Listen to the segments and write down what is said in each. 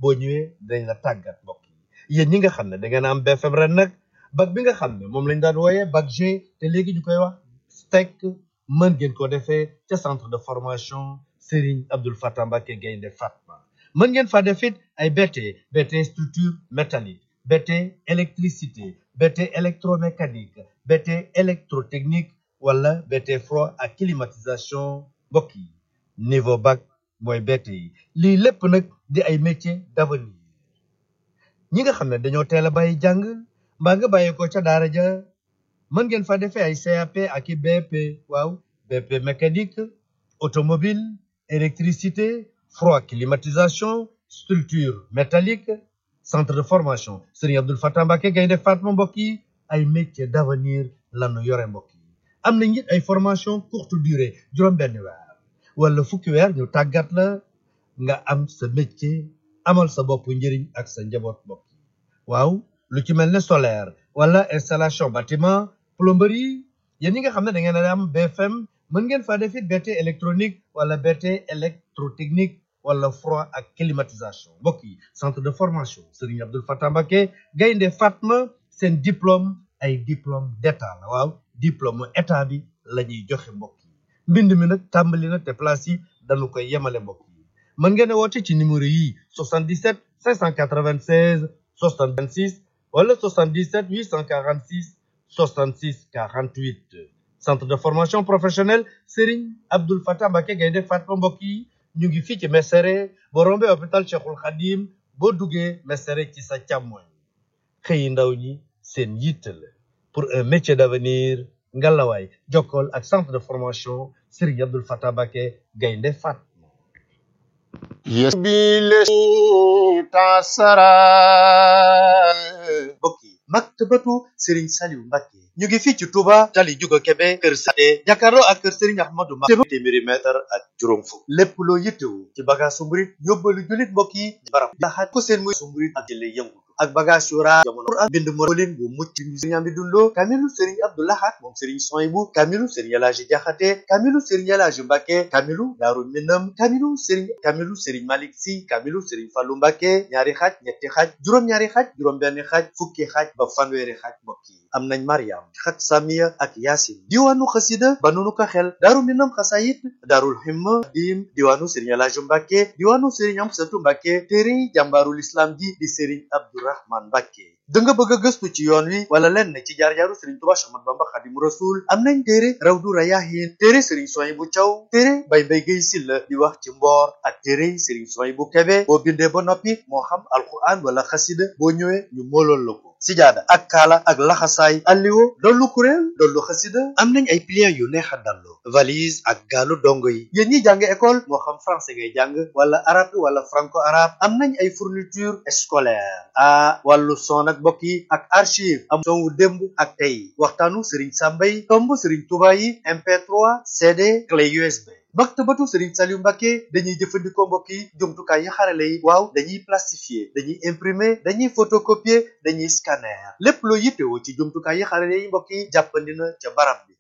boo ñëwee dañ la tàggat mbokk yi yéen ñi nga xam ne da ngeen am BFM ren nag bac bi nga xam ne moom lañ daan wooyee bac G te léegi ñu koy wax STEC mën ngeen ko defee ca centre de formation Serigne Abdoul Fatah Mbacké Gaïndé Fatma mën ngeen fa def it ay BT structure métallique BT électricité BT électromécanique BT électrotechnique wala BT froid ak climatisation mbokk yi niveau bac mooy BT yi lii lépp nag di ay métiers d'avenir ñi nga xam ne dañoo teel a bàyyi jàng mbaa nga bàyyi ko ca daara ja mën ngeen fa defee ay CAP ak i BP waaw BP mécanique automobile électricité froid climatisation structure métallique centre de formation Serigne Abdoul Fatah Mbacké Gaïndé Fatma mbokk yi ay métiers d'avenir lanu yore mbokk yi am na it ay formation courte durée juróom-benn weer wala fukki weer ñu tàggat la nga am sa métier amal sa bopp njëriñ ak sa njaboot mbokk yi waaw lu ci mel ne solaire wala installation bâtiment plomberie yéen ñi nga xam ne da ngeen a am BFM mën ngeen faa def it BT électronique wala BT électrotechnique wala froid ak climatisation mbokk yi centre de formation Serigne Abdoul Fatah Mbacké Gaïndé Fatma seen diplôme ay diplôme d'état la waaw diplôme état bi la ñuy joxe mbokk yi mbind mi nag tàmbali na te place yi dañu koy yemale mbokk yi mën ngeen a woote ci numéro yi 77 596 66 wala 77 846 66 48 centre de formation professionnelle Serigne Abdoul Fatah Mbacké Gaïndé Fatma mbokk yi ñu ngi fii ci Mesere boo rombee hôpital Cheikhul Khadim boo duggee Mesere ci sa càmmoñ xëyi ndaw ñi seen yitte la pour un métier d'avenir ngalawaay jokkool ak centre de formation Serigne Abdoul Fatah Mbacké Gaïndé Fatma mbokk yi maktabatu Serigne Saliou Mbacké ñu ngi fii ci Touba tali Juga Kebe kër Sade jàkkaarloo ak kër Serigne Ahmadou Mbacké téeméeri mètre ak juróom fukk lépp loo yittewu ci bagage su murit yóbbalu jullit mbokk yi barab laxaat ko seen muy su murit ak jële yëngu ak bagage yu raar jamono ak bind morolin bu mucc Serigne Amdi Dundo kamilu Serigne Abdou Lahad moom Serigne Souhaïbou kamilu Serigne El Hadji Diakhaté kamilu Serigne El Hadji Mbacké kamilu Daaru Minam kamilu Serigne Malick Sy kamilu Serigne Fallou Mbacké ñaari xaaj ñetti xaaj juróom-ñaari xaaj juróom-benn xaaj fukki xaaj ba fanweeri xaaj mbokk yi am nañ Mariam xat Samiya ak Yaasin diwaanu xasida ba nunu ko xel Daaru Minam xasayit Daarul Himma dim diwaanu Serigne El Hadji Mbacké diwaanu Serigne Amsatou Mbacké téere jàmbaarul islam ji di Serigne Abdourahmane Mbacké da nga bëgg a gëstu ci yoon wi wala lenn ci jaar-jaaru Serigne Touba Cheikh Ahmadou Bamba Khadimu Rasul am nañ téere Rawdu Rayaahin téere Serigne Souhaïbou Thiaw téere Baye Mbaye Guèye Sylla di wax ci mboor ak téere Serigne Souhaïbou Kébé boo bindee ba noppi moo xam alquran wala xasida boo ñëwee ñu moolool la ko sijaada ak kaala ak laxasaay alliwo dollu kuréel dollu xasida am nañ ay pliants yu neex a dallu valise ak gaalu dongo yi yéen ñi jàng école moo xam français ngay jàng wala arabe wala franco arabe am nañ ay fourniture scolaire wàllu son ak mbokk yi ak archive am son wu démb ak tey waxtaanu Serigne Sambay tomb Serigne Touba yi MP3 CD clé USB maktabatu Serigne Saliou Mbacké dañuy jëfandikoo mbokk yi jumtukaay yi xarale yi waaw dañuy plastifier dañuy imprimer dañuy photocopier dañuy scanner lépp loo yittewoo ci jumtukaay yi xarale yi mbokk yi jàppandi na ca barab bi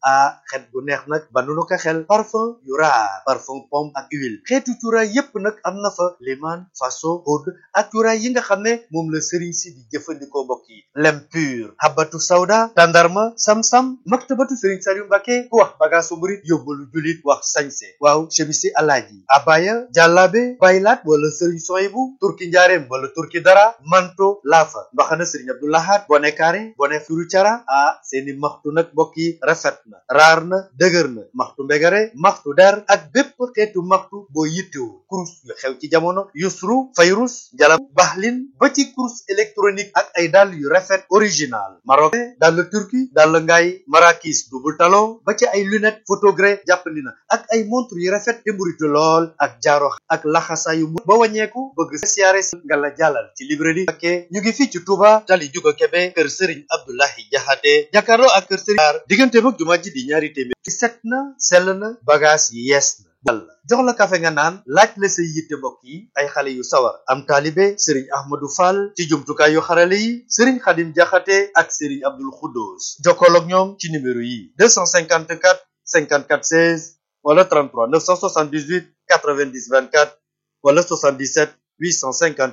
xet bu neex nag ba nu ko xel parfum yu raar parfum pomme ak huile xeetu cuuraay yépp nag am na fa liman faso oud ak cuuraay yi nga xam ne moom la Serigne si di jëfandikoo mbokk yi lem pur habatu sawda tandarma sam-sam maktabatu Serigne Saliou Mbacké ku wax bagaasu murit yóbbalu julit wax sañse waaw chemisi alaaji abaya jàllaabe baylaat wala Serigne Souhaïbou turki njaareem wala turki dara manto laafa mbaxana Serigne Abdou Lahad bone kaare bone furu cara seeni maxtu nag mbokk yi rafet na raar na dëgër na maxtu mbegare maxtu der ak bépp xeetu maxtu boo yittewu kurus yu xew ci jamono yusru fayrus jalam baxlin ba ci kurus électronique ak ay dàll yu rafet original marocain dàll turki dàll ngaay marakis double talon ba ci ay lunette photogré jàppandi na ak ay montre yu rafet te mburitu lool ak jaaro ak laxasaayu mu ba wàññeeku bëgg siyaare si nga la jàllal ci librairie Mbacké ñu ngi fii ci Touba tali Juga Kebe kër Serigne Abdoulahi Diakhaté jàkkaarloo ak kër Serigne diggante mag jumaa ji di ñaari téeméer ci set na sell na bagage yi yees na walla jox la kafe nga naan laaj la say yitte mbokk yi ay xale yu sawar am taalibe Serigne Ahmadou Fall ci jumtukaay yu xarale yi Serigne Khadim Diakhaté ak Serigne Abdoul Khoudous jokkool ak ñoom ci numéro yi 254 54 16 wala 33 978 90 24 wala 77 851